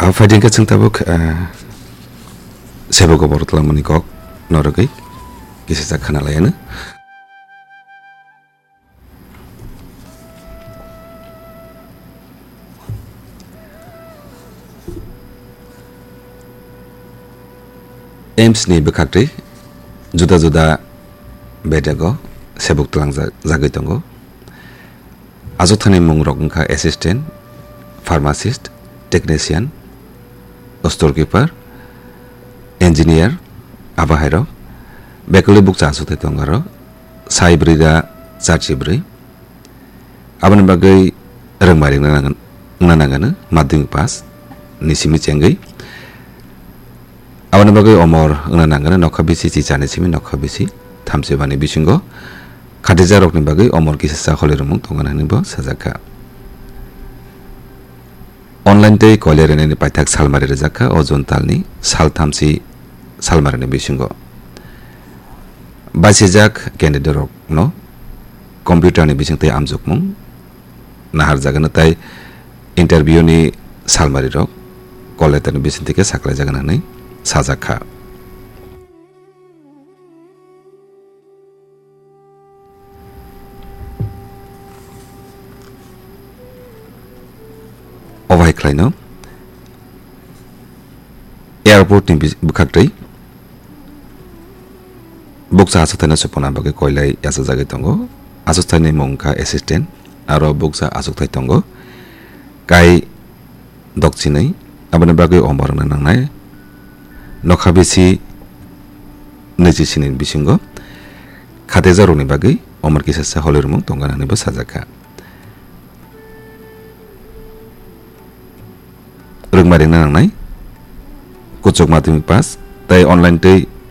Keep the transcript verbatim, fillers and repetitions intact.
Phaidi hwnkhe chwng tabuk, ah, sebo gobor twlangmani kok norogwi kisa sa khana lai ano. AIIMS ni bwkhaktwi juda juda bedego sebuk twlangjak-, jagwi tongo. Achukthaini mungrok wngkha assistant, pharmacist, technician, storekeeper, engineer, abo hairok. Bekuli bukcha achukthai tongo aro sai brwi da charchi brwi. Aboni bagwi rwngmari wngna nang-, wngna nangano madhyamik pass ni simi chengwi. Aboni bagwi omor wngna nangano nokha bisi chichani simi nokha bisi thamsibani bisingo khatijak rokni bagwi omor kisa sa holi rwmung tongkha hwnwi bo sajak kha. Online tei koilai rwnani paithak salmari rwjak kha o June talni sal thamsi salmarini bisingo. Basijak candidate rokno computer ni bising tei amjokmung naharjagano tei interview ni salmari rok call letter ni bising twi khe saklai jagano hwnwi sajak kha. Obo hai khlaino airport ni bis-, bwkhaktwi bukcha achukthai no supuna bagwi koilai yachajagwi tongo. Achukthai ni mung wngkha assistant, aro bukcha achukthai tongo. Kai dokchinwi, aboni bagwi omor wngna nangnai nokha bisi nwichi sini bisingo khatijak rokni bagwi omor kisa sa holi rwmung tongkha hwnwi bo sajak kha. Rwngmari wngna nangnai kuchuk madhyamik pass tei online tei